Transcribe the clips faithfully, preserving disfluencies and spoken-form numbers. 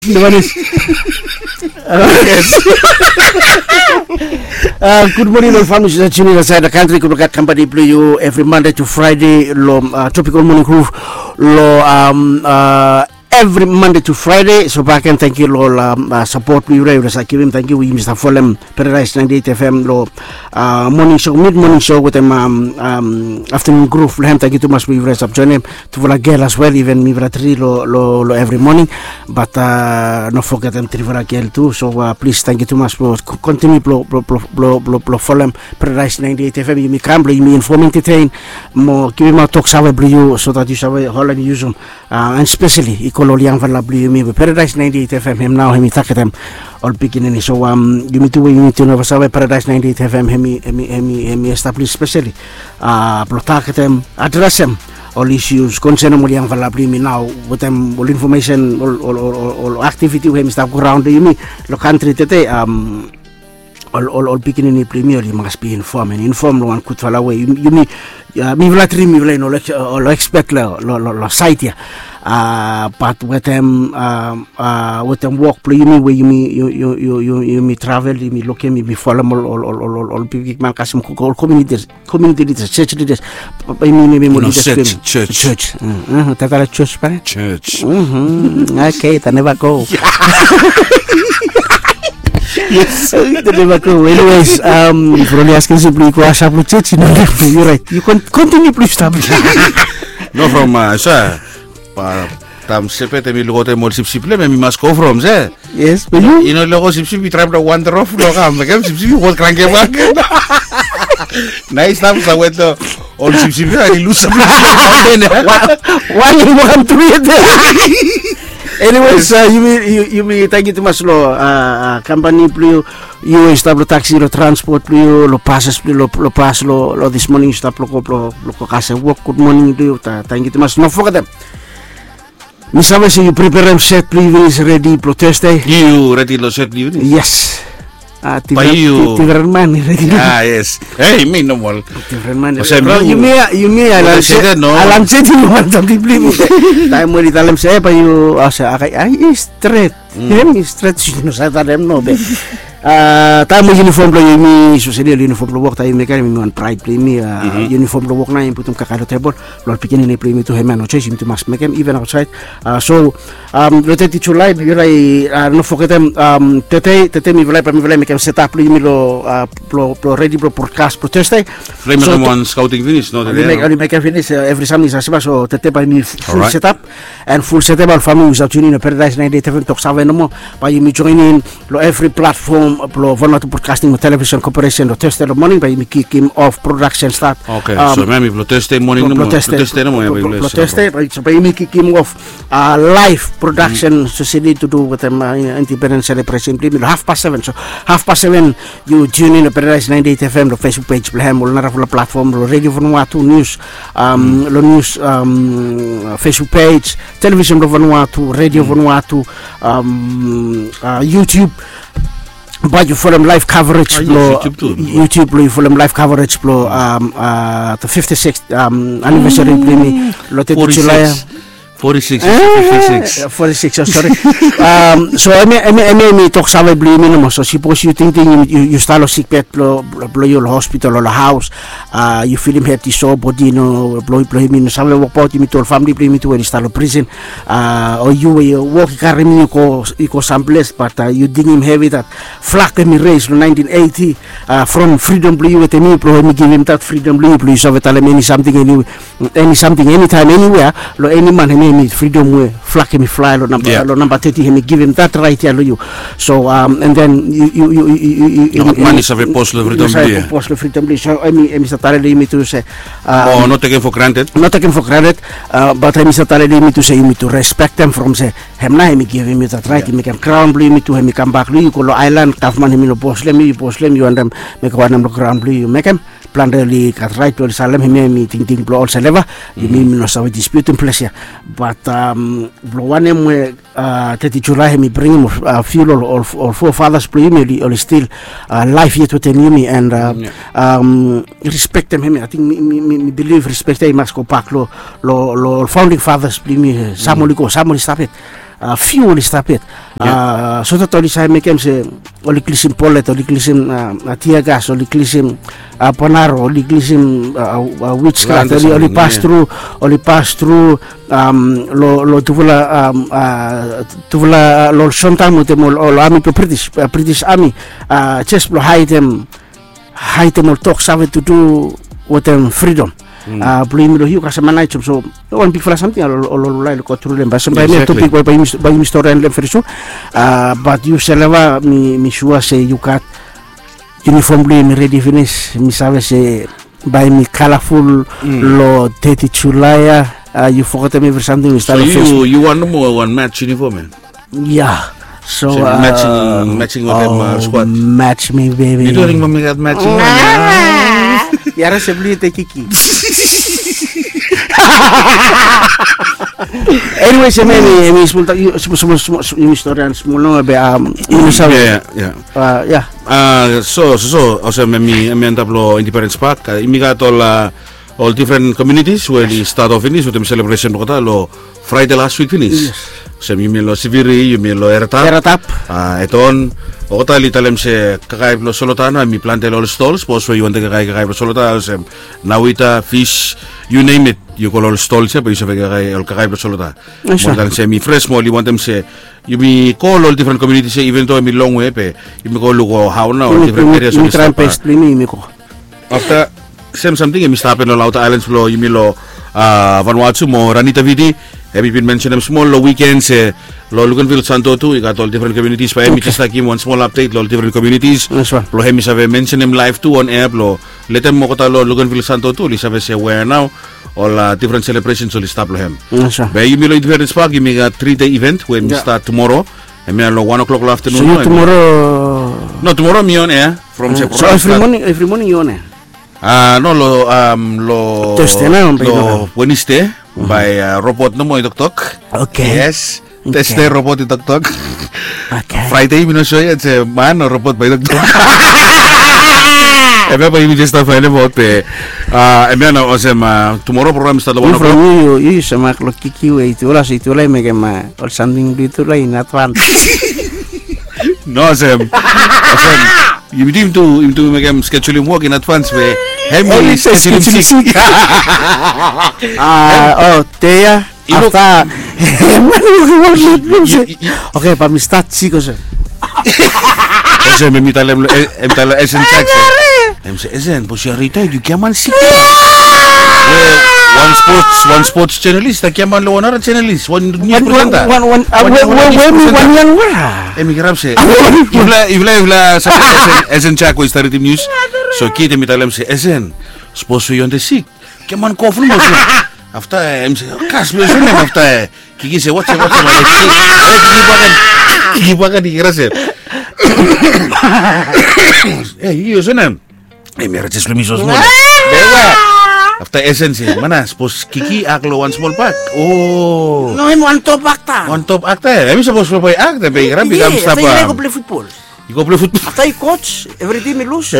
Gud moning long famili, save tune in long saed long kantri. Gud blong God, kampani blong yu evri Mande tu Fraede long Tropical Morning Groove long evri Mande tu Fraede. So baken, tangkiu long ol sapot blong yufala, yufala save givim. Tangkiu we yumi stap folem Paradise ninety eight F M long moning show, mid moning show wetem afternoon groove blong hem. Tangkiu tumas we yufala stap joenem. Tufala gel as well, even mifala tri long evri moning. Bat no fogetem trifala gel tu. So plis, tangkiu tumas blong kontiniu blong folem Paradise ninety eight F M. Yumi kam blong yumi infom, entetein, mo givimaot toksave blong yu, so dat yu save holem, yusum, and speseli i go long ol yangfala blong yumi we Paradise ninety eight F M hem nao hem i tagetem ol pikinini. So yumi tu we yumi tu nao save Paradise ninety eight F M hem i, hem i, hem i establis speseli blong tagetem, adresem ol isius konsenem ol yangfala blong yumi nao wetem ol infomesen, ol aktiviti we hem i stap go raon long yumi long kantri tede. Ol pikinini blong yumi oli mas bi infom, and infom long wan gudfala we. Yumi, mifala tri mifala i no ol ekspet long saed ya. Bat wetem, wetem wok blong yumi we yumi travel, yumi lukim, yumi folem ol bigbigman, kasem, ol komuniti lidas, jos lidas. Bae yumi, yumi, yumi lidas blong yumi. Jos. Tatala jos bae. Jos. Okei, ta neva go. Yes. Ta neva go. Anyways, from oli askem se blong yu go asap long jos, yu no, yu raet. Yu kontiniu blong yu stap. No, from sa, taem sepet hem i lukaotem ol sipsip blong hem, hem i mas go from se. Yes, be yu, yu no lego sipsip i traem long wander of long kam, mekem sipsip i wok krangke bak. Nao i stap sa wet long ol sipsip ya, i lus. Wan i wokam tu yet. Anyways, yumi, yumi tangkiu tumas long kampani blong yu, yu i stap long taksi, long transpot blong yu, long pases blong yu, long pas, long dis moning yu stap long go, long go kasem wok. Gud moning blong yu, tangkiu tumas. No fogetem, mi save se yu preperem set blong yu finis, redi blong Thursday. Yu redi long set blong yu finis? Yes. Bae yu, difren man i redi. Yes. Hei, mi nomol. Difren man i redi. Yumi ya, yumi ya, Alan Seti, no wan samting blong yumi. Taem we oli talem se bae yu, a se, ai, stret. Hem i stret, yu no save talem no be. Taem we yunifom blong yumi, espeseli ol yunifom blong wok, taem yumi mekem, hem i wan praed blong yumi. Yunifom blong wok nao yumi putum kakae long tebol blong ol pikinini blong yumi tu. Hem ya no joes, yumi tu mas mekem, iven aotsaed. So long teti Julae, yufala i no fogetem, tede, tede mifala, bae mifala i mekem setap blong yumi long, blong redi blong brodkas blong Thursday. Oli mekem wan skaoting finis, no? Oli mekem finis, evri samting i sasema. So tede bae yumi ful setap. And ful setap, ol famili we stap tune in long Paradise ninety eight F M, toksave nomo, bae yumi joenem long evri platfom blong Vanuatu Broadcasting Television Corporation long Thursday long moning, bae yumi kikim of production start. Okei, so hem i blong Thursday moning nomo. Blong Thursday nomo, blong Thursday, bae yumi kikim of live production, espeseli to do wetem independence celebration blong yumi long hafpas seven. So hafpas seven yu tune in long Paradise ninety eight F M, long Facebook page blong hem, ol narafala platfom, long Radio Vanuatu News, long news, Facebook page, Television blong Vanuatu, Radio Vanuatu, YouTube. Bae yu folem live coverage blong YouTube, yu folem live coverage blong the fifty-sixth anniversary blong yumi long teti Julae. Forty-six, fifty-six. Forty-six, oh, sorry. So hemia, hemia, hemia i toksave blong yumi nomo. So sipos yu tingting yu, yu stap long sikbed blong, blong yu long hospital o long haos, yu filim hed i so, bodi no, blong, blong yumi no save wokbaot, yumi tu ol famili blong yumi tu we oli stap long prison, o yu we wok i karem yu go, i go samples, bat yu dingim hevi dat flag hemi raise long nineteen eighty, from fridom blong yu wetem mi, blong hemi givim dat fridom blong yu, blong yu save talem eni samting, eni eni samting, enitaem, eniwea, long eni man, hemi, hemi fridom we flag hemi flae long namba, long namba teti, hemi givim dat raet ya long yu. So, and then yu, yu, yu, yu, yu, yu, no wan man i save pos long fridom blong yu. Pos long fridom blong yu. So hemi, hemi save talem long yumi tu se, o, no tekem for granted. No tekem for granted, bat hemi save talem long yumi tu se yumi tu respektem from se hem nao hemi givim yu dat raet, i mekem graon blong yumi tu hemi kambak long yu, yu go long aelan, gavman hemi no bos long yu, yu bos long yu, yu wantem mekem wanem long graon blong yu, yu mekem. Plante oli gat raet blong oli salem hemia, hemi tingting blong olsem neva. Yumi, yumi no save dispiutim ples ya. Bat blong wanem we teti Julae hemi bringim fiu long ol, ol forefathers blong yumi oli, oli stil laef yet wetem yumi, and respektem hemia. Ating mi, mi, mi bilif respek ya i mas gobak long, long, long ol founding fathers blong yumi. Sam oli go, sam oli stap yet. fiu oli stap yet. Sota oli save mekem se oli klisim polet, oli klisim tiagas, oli klisim panaro, oli klisim witchcraft, oli pas tru, oli pas tru long tufala, tufala long ol sontam wetem ol ami blong British, British ami, jes blong haedem, haedem ol tok save tu du wetem fridom. Blong yumi long yu kasem manait so wan bigfala samting ol ol ol lae long go tru long hem, bae sem bae mi topik bae yumi storian long hem veri sua. Bat yu Seleva, mi sua se yu gat yunifom blong yu mi redi finis, mi save se bae mi kalaful long teti Julae ya. Yu fogetem evri samting mi stap long Facebook. Yu wan nomo wan match yunifom ya? Ya. So matching wetem squad. Match mi baby. Yu tu ring mami gat matching wan ya. Yara se blu yu te kiki. Anyway, se memi emi smol tak yu smol smol smol yu storian smol no be um yu save. Ya ya. So so so olsem emi emi antap long Independence Park, emi gat ol ol different communities we oli start off finis wetem celebration blong olgeta long Friday last week finis. Olsem yumi long Siviri, yumi long Eratap. Eratap. Eton, olgeta oli talem se kakae blong Solota nao hemi plante long ol stall, sapos we yu wantem kakae kakae blong Solota olsem nawita, fish, you name it, yu go long ol stall ya bae yu save kakae ol kakae blong Solota. Mo oli talem se hemi fresh mo oli wantem se yumi go long ol different communities ya, even though hemi longwe be yumi go luk hao nao ol different areas oli stap. Afta sem samting hemi stap hapen long outer islands blong yumi long Vanuatu mo Ranitaviti. Hemi bin mensenem smol long wiken se long Luganville Santo tu i gat ol different communities, bae hemi jes laik givim wan smol update long ol different communities blong hemi save mensenem live tu on air blong letem olgeta long Luganville Santo tu oli save se we nao ol different celebrations oli stap long hem. Be yumi long Independence Park yumi gat three day event we hemi start tomorrow. Hemia long wan o'clock long afternoon. So yu tomorrow? No, tomorrow mi on air from Sephora. So every morning, every morning yu on air? Ah, no, lo um, lo Thursday na, lo Wednesday by uh, robot nomo i toktok. Okay. Yes. Thursday robot i toktok. Okay. Friday mi no sure yet se man o robot bae i toktok. Hemia bae yumi jes stap faenem aot be hemia nao olsem tomorrow program i start long wan o'clock. Yu yu yu save mak long kiki we i tuala so i tuala i mekem ol samting blong i tuala in advance. No olsem olsem yumi tu yumi tu yumi tu mekem schedulim wok in advance we hemi schedulim sik. Ah, o dei ya. Afta. Okay, bae mi stat sik olsem. Olsem hemi talem hemi talem Esen Jackson. Hemi se Esen, bos yu a retired, yu giaman sik. Wan sports wan sports journalist a giaman long wan nara journalist, wan news presenter. Wan wan wan wan. Hemi kirap se yufala yufala yufala save Esen Jack we i stap ridim news. So kid hemi talem se Esen, sapos we yu on the sick, giaman kof nomo. Afta hemi se kas blong yu olsem afta kiki se watsem watsem. Kiki bakan kiki bakan i kira se e yu olsem. Hemi era jes blong mi so smol. Afta Esen se mana sapos kiki ak long wan smol pak. O. No hemi wan top akta. Wan top akta ya hemi sapos blong bae akta be i kira mi kam stap. Yu go plei futbol. Yu go plei futbol. Afta yu coach, everyday mi lus.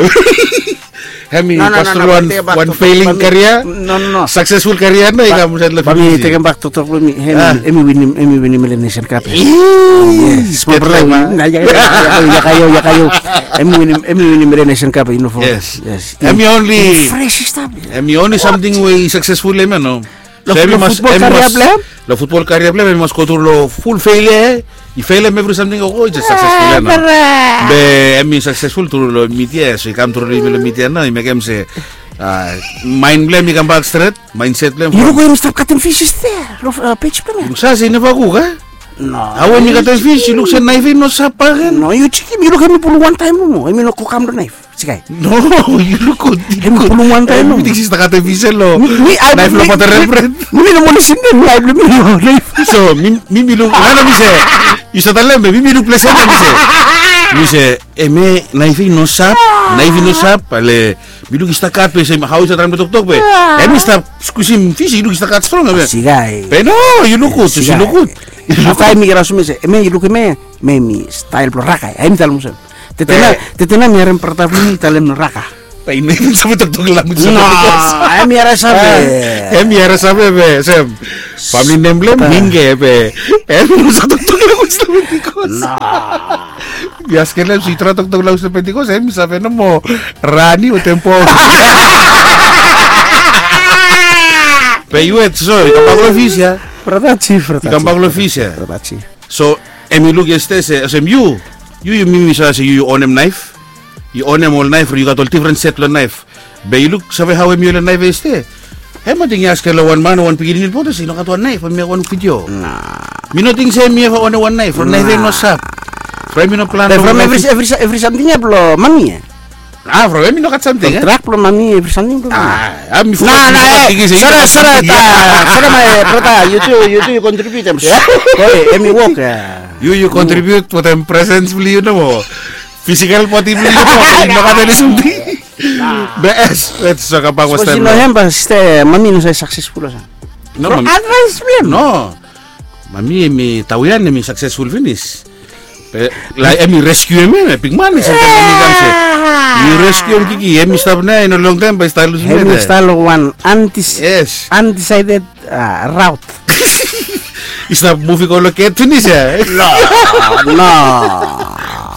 Hemi pas tru long wan failing karia. No no no. Successful karia nao i kam insaed long Fiji. Bae mi tekem bak toktok blong mi. Hemi winim hemi winim Melanesian Cup. Yes. Smol brata. Yakayo yakayo. Hemi winim hemi winim Melanesian Cup i no fo. Yes. Hemi only fresh i stap. Hemi only samting we i successful long hemia no. Long futbol karia blong hem. Long futbol karia blong hem hemi mas go tru long ful failure. I failem evri samting o go i jes successful ya nao. Be hemi successful tru long media ya so i kam tru long yumi long media nao i mekem se maen blong hem i kambak stret. Mindset blong hem. Yu luk we hemi stap katem fish ya long page blong hem. Luk save se i neva kuk a? No. Hao hemi katem fish yu luk se naef i no sap baken. No yu jikim yu luk hemi pulum wantaem nomo hemi no go kam long naef. Sikai. No, yu luk gud. Hemi pulum wantaem nomo. Mi ting se i stap katem fish ya long naef long batarem bred. Mi no moli sinden laef blong mi long naef. So mi mi luk nana mi se yu save talem be mi mi luk ples ya mi se mi se hemia naef i no sap. Naef i no sap ale mi luk i stap kat be se hao i save traem long toktok be hemi stap skusim fish i luk i stap kat strong hemia. Sikai. Be no yu luk gud. Yu luk gud. Afta hemi kira olsem mi se hemia yu luk hemia. Hemia hemi stael blong raka ya hemi talem olsem. Tetena tetena mi harem brata blong mi i talem raka. Bae i no even save toktok language long Pentikos. Em i haera save. Em i haera save be sem famili nem blong em Minge be em i no save toktok language long Pentikos. Mi askem long em se yu trae toktok language long Pentikos, em i save nomo Rani wetem Pol. Be yu wet so yu kambak long fis ya. Brata Chief, brata Chief. Yu kambak long fis ya. Brata Chief. So em i luk yestede se olsem yu, yu yu mi mi save se yu yu onem naef. Yu onem ol naef, yu gat ol difren set long naef. Be yu luksave hao em yu ol naef yestede. Em ating i askem long wan man o wan pikinini long Pentikos, i no gat wan naef, em i mekem wan video. Mi no ting se em i eva onem wan naef, from naef ya i no sap. From em i no plan from evri evri samting ya blong mami ya. Ah, from em i no gat samting ya. Trak blong mami, evri samting blong mami. Ah, mi fogat. Sore, sore, sore, my brother, yu tu, yu tu yu kontribut em. Em i wok ya. Yu yu kontribut wetem presens blong yu nomo. Fisikal bodi blong yu nomo. Yu no gat eni samting. Be es, wet so kambak was taem. Sapos i no hem, be sista, mami i no save saksesful olsem. No, from mami. Advaes blong em. No. Mami em i tawian, em i saksesful finis. Be lae em i reskiu em ya, bigman i save taem em i kam se. Yu reskiu em Kiki, em i stap nao ya, i no longtaem bae i stap lusum. Em i stap long wan undes- Yes. Undecided ah, route. I stap muv i go long get finis ya. No, no.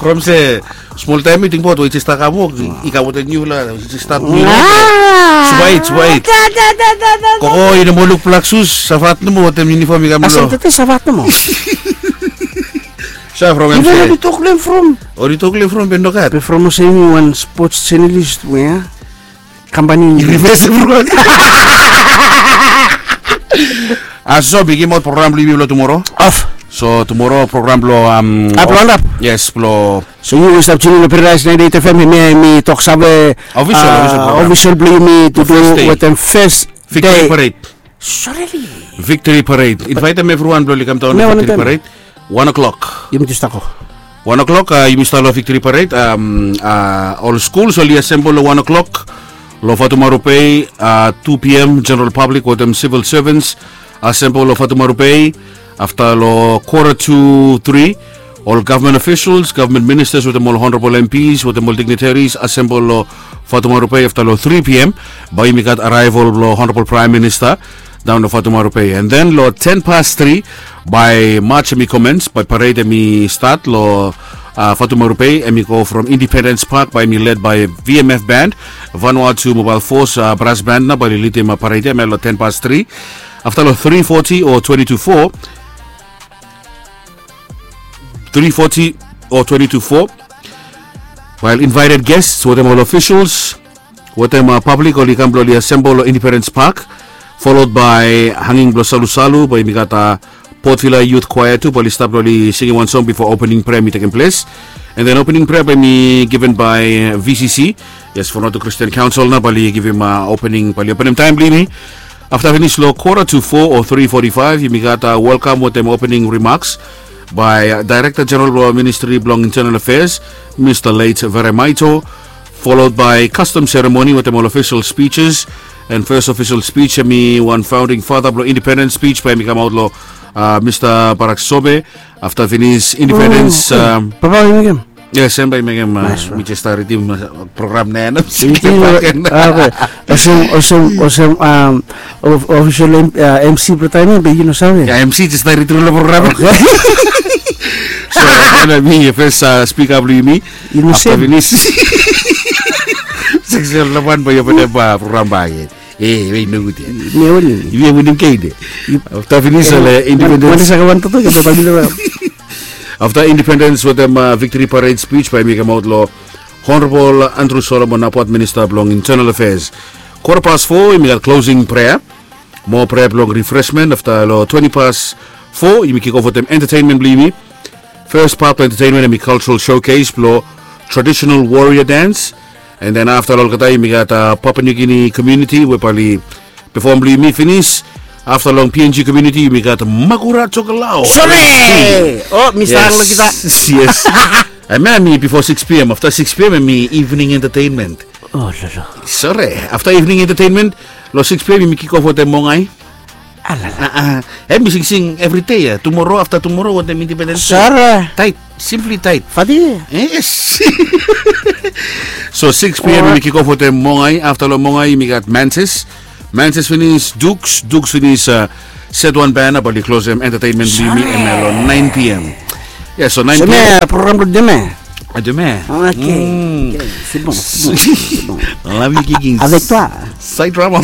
From se smol taem i tingbaot we i jes stap kam wok, i kam wetem niu la, i jes stap niu la. Swaet, swaet. Koko i no moa luk blak sus, savat nomo wetem yunifom i kam long. Asem tete savat nomo. Sa from em se. Oli tok long em from. Oli tok long em from be nogat. Be from olsem i wan spots jenalis we ya. Kampani. I rives evriwan. Aso mi givimaot program blong yumi long tumoro. Of. So tumoro program blong am. Ap long ap. Yes blong. So yu stap tuning long Paradise ninety-eight F M, hemia hemi tok save. Official, ah, official program. Official blong yumi to do wetem first day. Victory Parade. Sorry. Victory Parade. Invaetem evriwan blong oli kam daon long Victory Parade. Wan o'clock. Yumi tu stap go. Wan o'clock, ah, yumi stap long Victory Parade. Am, ah, ol skuls oli asembol long wan o'clock. Long Fatumaru Bay, ah, two P M, general public wetem civil servants asembol long Fatumaru Bay. Afta long quarter to three, ol gavman officials, gavman ministas wetem ol honorable M Ps wetem ol dignitaries asembol long Fatumaru Bay. Afta long three P M, bae yumi gat arrival blong honorable prime minister daon long Fatumaru Bay. And then long ten past three, bae march hemi commence, bae parade hemi start long, ah, Fatumaru Bay, hemi go from Independence Park, bae hemi led by V M F band, Vanuatu Mobile Force, ah, brass band nao bae oli lidim, ah, parade ya long ten past three. Afta long three forty o twenty to four, three forty o twenty to four, while invited guests wetem ol officials wetem, ah, public oli kam blong oli asembol long Independence Park, followed by hanging blong Salusalu, bae yumi gat, ah, Port Vila Youth Choir tu bae oli stap blong oli singim wan song bifo opening prayer hemi tekem ples. And then opening prayer bae hemi given by, eh, V C C. Yes, Vanuatu Christian Council nao bae oli givim, ah, opening, bae oli openem taem blong yumi. Afta finis long quarter to four o three forty-five, yumi gat, ah, welkam wetem opening remarks by, ah, Director General blong Ministry blong Internal Affairs, Mister Late Vere Maito, followed by custom ceremony wetem ol official speeches. And first official speech hemi wan founding father blong independence speech bae hemi kamaot long, ah, Mister Barak Sobe. Afta finis independence, um, Papa, yu mekem? Yes, em bae i mekem, ah, mi jes stap ridim, ah, program nao ya. Olsem, olsem, olsem, um, official M C blong taem ya be yu no save. Ya, M C jes stap ridim long program. So, mi fes, ah, spika blong yumi. Yu no save. Afta finis seksel namba wan bae i openem program bakegen. E, we i nogud ya. Mi a winim. Yu a winim kede. Afta finis ol independence. Afta independence wetem, ah, victory parade speech bae hemi kamaot long Honorable Andrew Solomon Apuat, Minister blong Internal Affairs. Quarter past four, yumi gat closing prayer. Moa prayer blong refreshment. Afta long twenty past four, yumi kick off wetem entertainment blong yumi. First part blong entertainment hemi cultural showcase blong traditional warrior dance. And then afta long olgeta yumi gat, ah, Papua New Guinea community we bae oli perform blong yumi finis. Afta long P N G community yumi gat Makura Tokelau. Sore! O, mi stap long kita. Yes. Hemia hemi bifo six P M. Afta six P M hemi evening entertainment. O, lo, lo. Sore. Afta evening entertainment, long six P M yumi kick off wetem Mongai. Alala. Ah, ah. Hemi singsing evri dei ya. Tumoro, afta tumoro wetem independence. Sore. Taet. Simply tight. Fati. Yes. So six p.m. Yumi kick off wetem Mongai. Afta long Mongai yumi gat Manses. Manses finis Dukes. Dukes finis uh, Set One Band. Bae oli klosem entertainment blong yumi em long nine p.m. Yeah, so nine p.m. Program blong deme. Deme. Okay. Love you, Kiki. Avec toi. Side drama.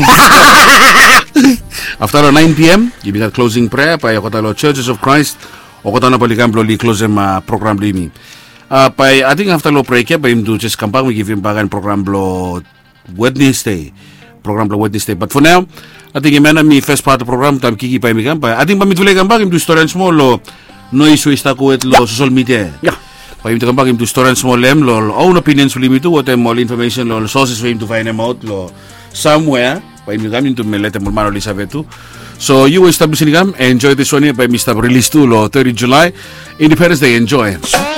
Afta long nine p.m. Yumi gat closing prayer bae olgeta long Churches of Christ. Olgeta nao bae oli kam blong oli klosem program blong yumi. Bae ating afta long brek ya bae yumi tu jes kambak mi givim bak wan program blong Wednesday. Program blong Wednesday. Bat fo nao ating hemia nao mi fes pat program taem Kiki bae mi kam bae ating bae mitufala i kambak yumi tu stori wan smol long noes we i stap go wet long sosel midia. Bae yumi tu kambak yumi tu stori wan smol long hem long ol own opinions blong yumi tu wetem ol infomesen long ol soses we yumi tu faenemaot long samwea. Bae yumi kam yumi tu melet em ol man oli save tu. So yu we i stap lisin i kam enjoy this one ya bae mi stap rilis tu long thirty July. Independence Day, enjoy.